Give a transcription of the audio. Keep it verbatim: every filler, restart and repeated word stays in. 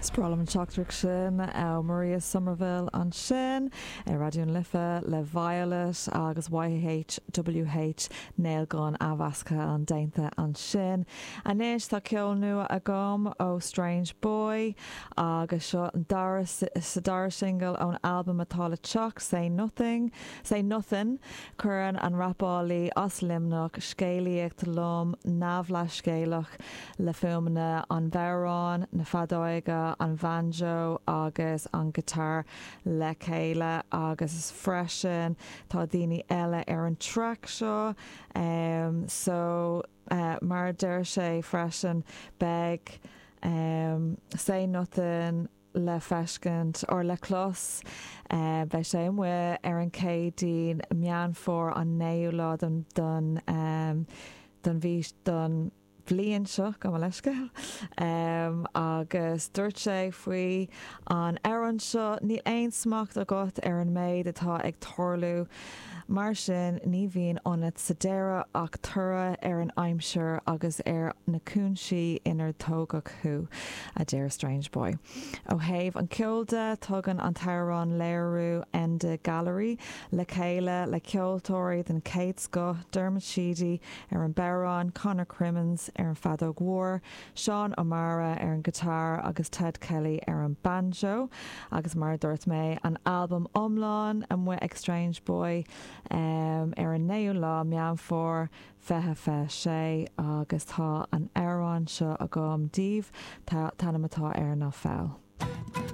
Is breá liom an teachtaireacht sin ó Maria Somerville ansin ar Raidió na Life le Violet agus YHWH Nailgun athmheasctha an déanta ansin. Anois tá ceol nua agam ó Strange Boy agus seo an dara sa dara single ón album atá le teacht Say Nothing, Say Nothin cuireann an rapálaí as Luimneach scéalaíocht lom neamhleithscéalach le fuaimeanna an bhodhráin, na feadóige, an banjo agus an guitar le chéile agus freisin tá daoine eile ar an track seo um, so uh, mar deir sé freisin beidh um, Say Nothing le feiscint or le clos uh, beidh sé amuigh ar an Chéadaoin Meán Fómhair an naoú lá don don um, don bhí don bhliain seo go leisce. Um, agus dúirt sé faoi an amhrán seo níl aon smacht agat ar an méid atá ag tarlú. Mar sin ní bhíonn ionat sa deireadh ach toradh ar an aimsir agus ar na cúinsí inar tógadh thú a deir Strange Boy. Ó thaobh an ceol de tugann an t-amhrán léiriú Enda Gallery le chéile le ceoltóirí den chéad scoth Dermot Sheedy ar an bodhrán Conor Crimmins ar an feadóg mhór, Seán O'Mara ar an guitar agus Ted Kelly ar an banjo, agus mar dúirt mé an album iomlán amuigh ag Strange Boy um, ar an naoú lá Meán Fómhair fiche fiche sé agus tá an amhrán seo agam daoibh tá ainm atá air ná Foul.